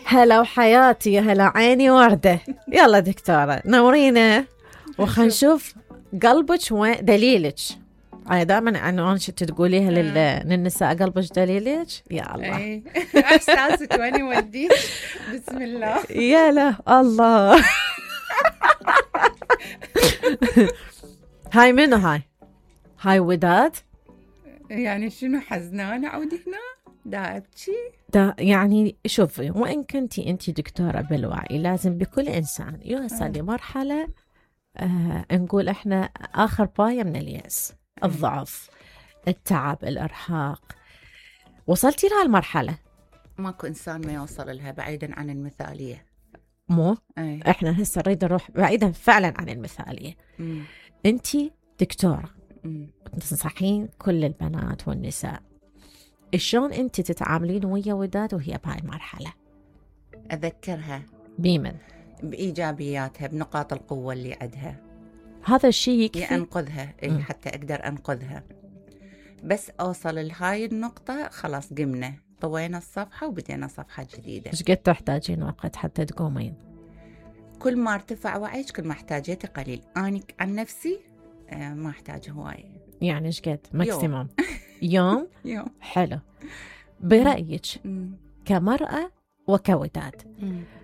هلا وحياتي، يا هلا عيني وردة. يلا دكتورة نورينا وخلينا نشوف قلبك وين دليلك. دائما عنوان شو تقوليها للنساء، قلبك دليلك. يا الله احساسك وين يوديك. بسم الله. يا لا الله. هاي منو هاي وداد؟ يعني شنو حزنانة عودي هنا دا ابكي؟ يعني شوفي، وإن كنتي أنت دكتورة بالوعي لازم بكل إنسان يوصل لمرحلة نقول إحنا آخر باية من اليأس، الضعف، التعب، الإرهاق. وصلتي لها المرحلة؟ ماكو إنسان ما يوصل لها بعيدا عن المثالية. مو إحنا هسه نريد نروح بعيدا فعلا عن المثالية. أنت دكتورة تنصحين كل البنات والنساء، شلون أنت تتعاملين ويا وداد وهي بهاي المرحلة؟ أذكرها بمن؟ بإيجابياتها، بنقاط القوة اللي عندها. هذا الشيء يكفي أنقذها حتى أقدر أنقذها. بس أوصل لهاي النقطة خلاص قمنا، طوينا الصفحة وبدينا صفحة جديدة. إيش قد تحتاجين وقت حتى تقومين؟ كل ما ارتفع وعيك كل ما احتاجيتي قليل. أنا عن نفسي ما أحتاج هواي. يعني إيش قد ماكسيموم؟ يوم. حلو. برأيك كمرأة وكوداد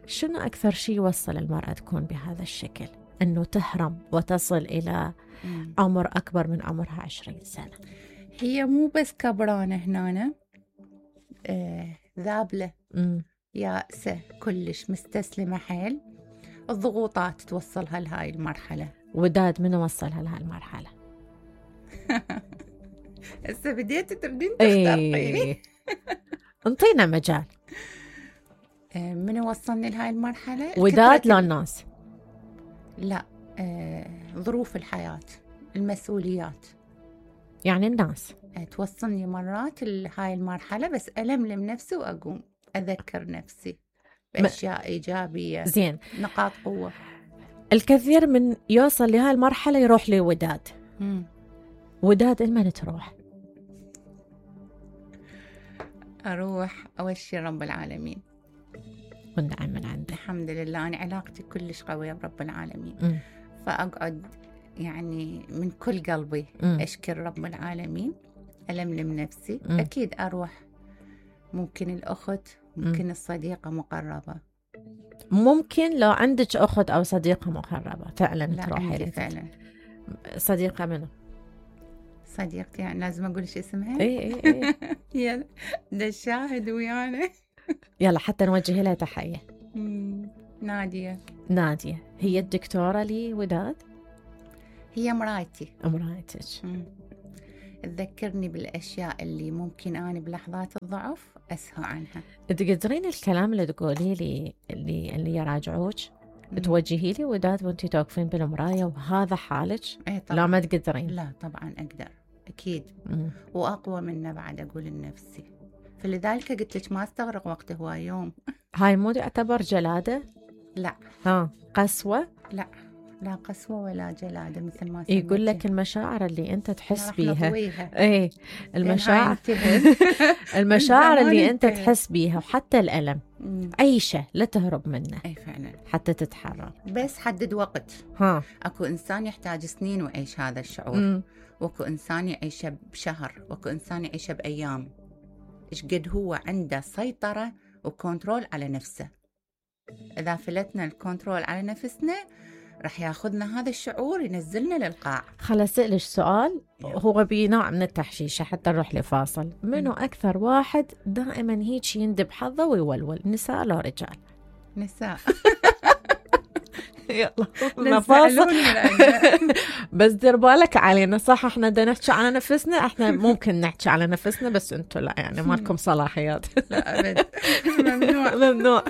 شنو أكثر شيء يوصل المرأة تكون بهذا الشكل، أنه تهرم وتصل إلى عمر أكبر من عمرها 20 سنة؟ هي مو بس كبرانة هنا، ذابلة، يائسة كلش، مستسلمة حيل. الضغوطات توصلها لهاي المرحلة. وداد من وصلها لهاي المرحلة؟ هسه بديت تردين تختارقيني. انطينا مجال. من وصلني لهاي المرحلة؟ وداد لا الناس؟ لا، ظروف الحياة، المسؤوليات. يعني الناس توصلني مرات لهاي المرحلة، بس ألملم نفسي وأقوم أذكر نفسي بأشياء إيجابية. زين، نقاط قوة. الكثير من يوصل لهاي المرحلة يروح لوداد. وداد لمن تروح؟ أروح أول شي رب العالمين، والنعم من عنده. الحمد لله أنا علاقتي كلش قوية برب العالمين. فأقعد يعني من كل قلبي أشكر رب العالمين، ألملم نفسي. أكيد أروح، ممكن الأخت، ممكن الصديقة مقربة. ممكن لو عندك أخت أو صديقة مقربة فعلا تروحي لها. فعلا. صديقة منو؟ صديقتي يعني لازم أقولش اسمها؟ إيه. يلا ده الشاهد ويانا. يلا حتى نوجه لها تحية. نادية. هي الدكتورة لي وداد؟ هي مرايتي. مرايتك. تذكرني بالأشياء اللي ممكن أنا بلحظات الضعف أسهى عنها. تقدرين الكلام اللي تقولي لي اللي يراجعوك توجهي لي وداد وانتي توقفين بالمراية وهذا حالك؟ لا ما تقدرين؟ لا طبعا أقدر أكيد. وأقوى منه بعد أقول لنفسي. فلذلك قلت لك ما استغرق وقت هو يوم. هاي مو يعتبر جلادة؟ لا. قسوة؟ لا قسوة ولا جلادة مثل ما يقول لك المشاعر اللي أنت تحس بيها. المشاعر المشاعر اللي أنت تحس بيها وحتى الألم عيشة لا تهرب منه. فعلا. حتى تتحرر. بس حدد وقت. أكو إنسان يحتاج سنين ويعيش هذا الشعور. وأكو إنسان يعيشه بشهر، وأكو إنسان يعيشه بأيام. إيش قد هو عنده سيطرة وكنترول على نفسه. إذا فلتنا الكنترول على نفسنا رح ياخذنا هذا الشعور ينزلنا للقاع. خل أسألك سؤال هو بنوع من التحشيشة حتى نروح لفاصل. منو أكثر واحد دائما هيك يندب حظه ويولول، نساء لو رجال؟ نساء. يلا فاصل. بس دير بالك علينا، صح احنا بدنا نحكي على نفسنا، احنا ممكن نحكي على نفسنا بس انتو لا، يعني ما لكم صلاحيات. لا أبد. ممنوع.